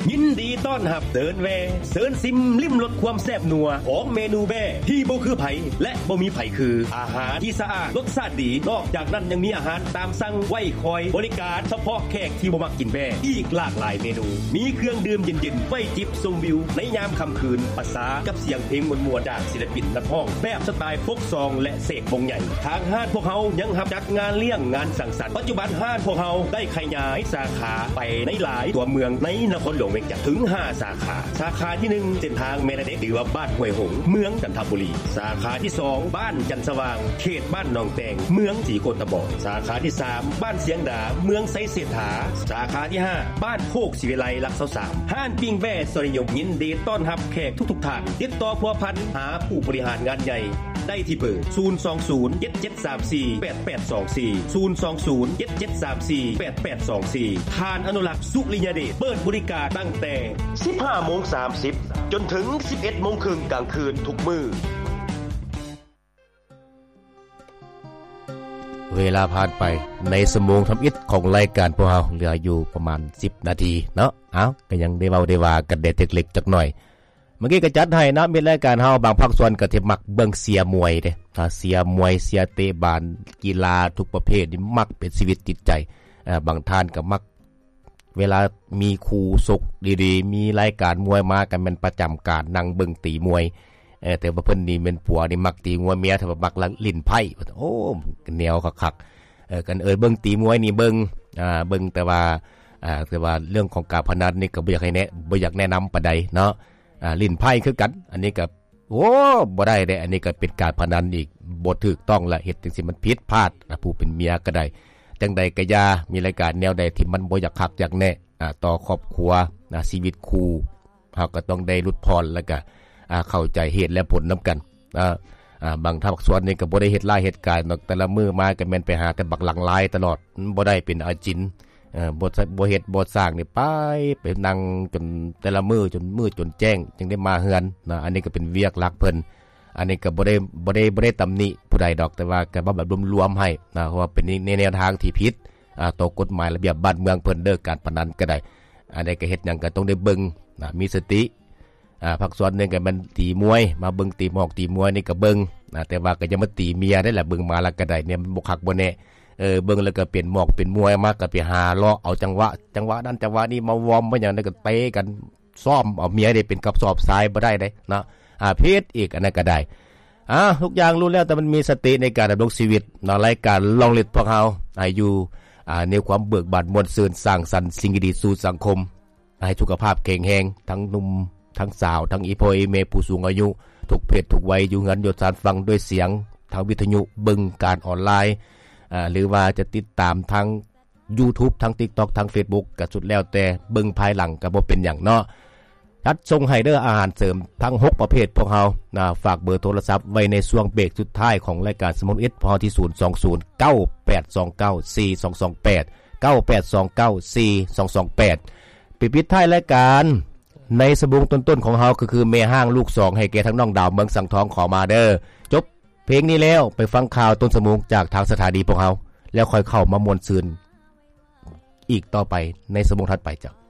ຍິນດີຕ້ອນຮັບ ເຊີນແວ່ ເຊີນຊິມລິມລົດຄວາມແຊບນົວຂອງເມນູແບ້ທີ່ບໍ່ຄືໃຜ ແລະ ບໍ່ມີໃຜຄື. ອາຫານທີ່ສະອາດ ລົດຊາດດີ, ນອກຈາກນັ້ນຍັງມີອາຫານຕາມສັ່ງໄວ້ຄອຍບໍລິການສະເພາະແຂກທີ່ບໍ່ມັກກິນແບ້ ອີກຫຼາກຫຼາຍເມນູ. ມີເຄື່ອງດື່ມເຢັນໆ ໄວ້ຈິບຊົມວິວໃນຍາມຄ່ຳຄືນ ປະສານກັບສຽງເພງມ່ວນໆ ຈາກສິນລະປິນນັກຮ້ອງແບບສະໄຕລ໌ໂຟກຊອງ ແລະ ເສກວົງໃຫຍ່. ທາງຮ້ານພວກເຮົາຍັງຮັບຈັດງານລ້ຽງ, ງານສັງສັນ. ປັດຈຸບັນຮ້ານພວກເຮົາໄດ້ຂະຫຍາຍສາຂາໄປໃນຫຼາຍຕົວເມືອງໃນນະຄອນຫຼວງວຽງຈັນເຖິງຫ້າສາຂາ. ສາຂາທີໜຶ່ງ ເສັ້ນທາງແມ່ນາເດັກ ຫຼືວ່າບ້ານຫ້ວຍຫົງ ເມືອງຈັນທະບູລີ. ສາຂາທີສອງ ບ້ານຈັນສະຫວ່າງ ເຂດບ້ານໜອງແຕງ ເມືອງສີໂຄດຕະບອງ. ສາຂາທີສາມ ບ້ານຊຽງດາ ເມືອງໄຊເສດຖາ. ສາຂາທີຫ້າ ບ້ານໂຄກສີວິໄລ ຫຼັກຊາວສາມ. ຮ້ານປີ້ງແບ້ສອນນິຍົມ ຍິນດີຕ້ອນຮັບແຂກທຸກໆທ່ານ. ຕິດຕໍ່ພົວພັນຫາຜູ້ບໍລິຫານງານໃຫຍ່ ໄດ້ທີ່ເບີ ສູນສອງສູນ ເຈັດເຈັດສາມສີ່ ແປດແປດສອງສີ່ ສູນສອງສູນ ເຈັດເຈັດສາມສີ່ ແປດແປດສອງສີ່. ທ່ານອະນຸລັກ ສຸລິຍະເດດ ເປີດບໍລິການຕັ້ງແຕ່ສິບຫ້າໂມງສາມສິບ ຈົນເຖິງສິບເອັດໂມງເຄິ່ງກາງຄືນທຸກມື້. ເວລາຜ່ານໄປໃນຊົ່ວໂມງທຳອິດຂອງລາຍການພວກເຮົາ ເຫຼືອຢູ່ປະມານສິບນາທີເນາະ. ເອົ້າ ກໍຍັງໄດ້ເວົ້າໄດ້ວ່າກັນແດ່ເລັກໆຈັກໜ້ອຍ. ເມື່ອກີ້ກໍຈັດໃຫ້ເນາະ ມິດລາຍການເຮົາບາງພາກສ່ວນກໍທີ່ມັກເບິ່ງເຊຍມວຍເດ້. ອ່າ ເຊຍມວຍ ເຊຍເຕະບານ ກິລາທຸກປະເພດນີ້ມັກເປັນຊີວິດຈິດໃຈ. ອ່າ ບາງທ່ານກໍມັກ ເວລາມີຄູ່ຊົກດີໆ ມີລາຍການມວຍມາ ກໍແມ່ນປະຈຳການນັ່ງເບິ່ງຕີມວຍ. ເອີ ແຕ່ວ່າເພິ່ນນີ້ແມ່ນຜົວນີ້ມັກຕີມວຍ ເມຍເພິ່ນມັກຫຼິ້ນໄພ້. ໂອ້ ແນວຄັກໆ. ເອີ ກັນເອີ້ນເບິ່ງຕີມວຍນີ້ເບິ່ງ ອ່າ ເບິ່ງ ແຕ່ວ່າ ອ່າ ແຕ່ວ່າເລື່ອງຂອງການພະນັນນີ້ກໍບໍ່ຢາກໃຫ້ແນະ ບໍ່ຢາກແນະນຳປານໃດເນາະ. ອ່າ ຫຼິ້ນໄພ້ຄືກັນ ອັນນີ້ກໍ ໂອ້ ບໍ່ໄດ້ເດ້ ອັນນີ້ກໍເປັນການພະນັນອີກ ບໍ່ຖືກຕ້ອງລະ ເຮັດຈັ່ງຊີ້ມັນຜິດພາດ. ອ່າ ຜູ້ເປັນເມຍກໍໄດ້ ຈັ່ງໃດກໍຢ່າ ມີລາຍການແນວໃດທີ່ມັນບໍ່ຢາກຄັກຢາກແນະ ອ່າ ຕໍ່ຄອບຄົວ ອ່າ ຊີວິດຄູ່ ເຮົາກໍຕ້ອງໄດ້ຫຼຸດຜ່ອນ ແລ້ວກໍ ອ່າ ເຂົ້າໃຈເຫດແລະຜົນນຳກັນ. ອ່າ ອ່າ ບາງພາກສ່ວນນີ້ກໍບໍ່ໄດ້ເຮັດຮ້າຍເຮັດການດອກ ແຕ່ລະມື້ມາກໍແມ່ນໄປຫາແຕ່ບັກຫຼັງລາຍຕະຫຼອດ ມັນບໍ່ໄດ້ເປັນອາຈິນ. ເອີ ບໍ່ ບໍ່ເຮັດບໍ່ສ້າງນີ້ ໄປ ໄປນັ່ງຈົນແຕ່ລະມື້ ຈົນມືດຈົນແຈ້ງ ຈຶ່ງໄດ້ມາເຮືອນນະ. ອັນນີ້ກໍເປັນວຽກຫຼັກເພິ່ນ. ອັນນີ້ກໍບໍ່ໄດ້ ບໍ່ໄດ້ ບໍ່ໄດ້ຕຳໜິຜູ້ໃດດອກ ແຕ່ວ່າກໍເວົ້າແບບລວມໆໃຫ້ນະ ເພາະວ່າເປັນໃນແນວທາງທີ່ຜິດ ອ່າ ຕໍ່ກົດໝາຍລະບຽບບ້ານເມືອງເພິ່ນເດີ ການພະນັນກໍໄດ້. ອັນໃດກໍເຮັດຫຍັງກໍຕ້ອງໄດ້ເບິ່ງນະ ມີສະຕິ. ອ່າ ພາກສ່ວນໜຶ່ງກໍແມ່ນຕີມວຍ ມາເບິ່ງຕີໝອກຕີມວຍນີ້ກໍເບິ່ງນະ ແຕ່ວ່າກໍຢ່າມາຕີເມຍໄດ້ລະ ເບິ່ງມາແລ້ວກໍໄດ້ ແນວມັນບໍ່ຄັກບໍ່ແນ່. ເອີ ເບິ່ງແລ້ວກໍເປັນໝອກເປັນມວຍມາ ກໍໄປຫາເລາະເອົາຈັງຫວະ ຈັງຫວະນັ້ນຈັງຫວະນີ້ມາວອມມາຫຍັງ ແລ້ວກໍເຕະກັນ ຊ້ອມເອົາເມຍໄດ້ເປັນກະສອບຊາຍບໍ່ໄດ້ເດ້ເນາະ. ອ່າ ຜິດອີກ ອັນນັ້ນກໍໄດ້. ອ່າ ທຸກຢ່າງລ້ວນແລ້ວແຕ່ມັນມີສະຕິໃນການດຳລົງຊີວິດເນາະ. ລາຍການລອງລິດພວກເຮົາ ອ່າ ຢູ່ ອ່າ ໃນຄວາມເບີກບານມ່ວນຊື່ນ ສ້າງສັນສິ່ງດີໆສູ່ສັງຄົມ ໃຫ້ສຸຂະພາບແຂງແຮງ ທັງໜຸ່ມ ທັງສາວ ທັງອີ່ພໍ່ອີ່ແມ່ ຜູ້ສູງອາຍຸ ທຸກເພດທຸກໄວ ຢູ່ເຮືອນຢູ່ຊານຟັງດ້ວຍສຽງທາງວິທະຍຸ ເບິ່ງການອອນລາຍ ອ່າ ຫຼືວ່າຈະຕິດຕາມທາງ YouTube ທາງ TikTok ທາງ Facebook ກໍສຸດແລ້ວແຕ່ ເບິ່ງພາຍຫຼັງກໍບໍ່ເປັນຫຍັງເນາະ. ຈັດສົ່ງໃຫ້ເດີ ອາຫານເສີມທັງຫົກປະເພດພວກເຮົານະ. ຝາກເບີໂທລະສັບໄວ້ໃນຊ່ວງເບຣກສຸດທ້າຍຂອງລາຍການສະໝອງເອັດ ພອນທີ່ ສູນສອງສູນ ເກົ້າແປດສອງເກົ້າ ສີ່ສອງສອງແປດ ເກົ້າແປດສອງເກົ້າ ສີ່ສອງສອງແປດ. ໄປປິດທ້າຍລາຍການໃນສະໝອງຕົ້ນໆຂອງເຮົາ ກໍຄືແມ່ຮ້າງລູກສອງ ໃຫ້ແກ່ທັງນ້ອງດາວເມືອງສັງທອງ ຂໍມາເດີ. ຈົບ ເພງນີ້ແລ້ວ ໄປຟັງຂ່າວຕົ້ນຊົ່ວໂມງຈາກທາງສະຖານີພວກເຮົາ ແລ້ວຄ່ອຍເຂົ້າມາມ່ວນຊື່ນອີກຕໍ່ໄປໃນຊົ່ວໂມງຖັດໄປເຈົ້າ.